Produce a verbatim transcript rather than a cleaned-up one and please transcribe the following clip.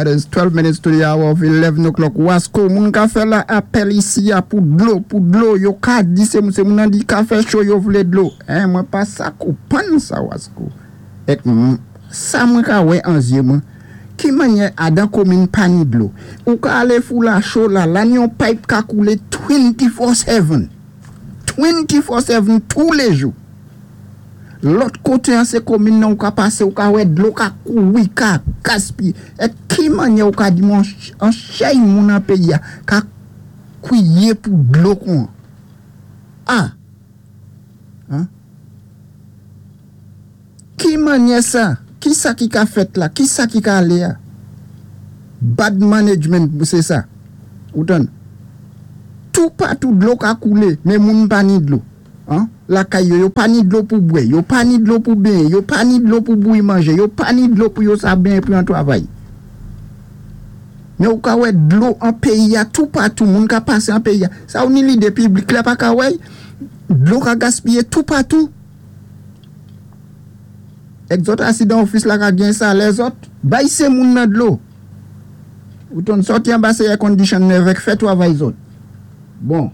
It is twelve minutes to the hour of eleven o'clock. Wasko, moun ka fè la apèl isi a pou dlo, pou dlo, yo ka di sé moun, sé moun an di ka fè cho yo vlé dlo. Hein, mwen pa sa konpwann sa, Wasko. Èk sa mwen ka wè an zyé mwen. Ki mannyè adan komin pa ni dlo? Ou ka alé Fou-Lacho la, la ni yon pipe ka koulé twenty-four seven. twenty-four seven tou lé jou. Lòt koté an sé komin nan ou ka pasé, ou ka wè dlo ka kouri, ka gaspiyé. Èk ki mannyè ou ka di mwen an chay moun an péyi a, ka kwiyé pou dlo kon? Ah! Hein? Ki mannyè sa? Ki sa ki ka fèt la? Ki sa ki ka alé a? Bad management, sé sa. Ou tann? Tou patou dlo ka koulé, men moun pa ni dlo. Hein? Lakay yo, yo pa ni dlo pou bwè, yo pa ni dlo pou benyen, yo pa ni dlo pou bouyi manjé, yo pa ni dlo pou yo sa benyen pou yon twavay. Men ou ka wè dlo an péyi a, tou patou, moun ka pasé an péyi a. Sa ou ni lidé piblik la pa ka wè, dlo ka gaspiyé tou patou. Èk zòt asi dan ofis la ka gen sa, lèzòt, bay sé moun nan dlo. Ou tann sòti anba sé air condition nèf èk fè twavay zòt. Bon.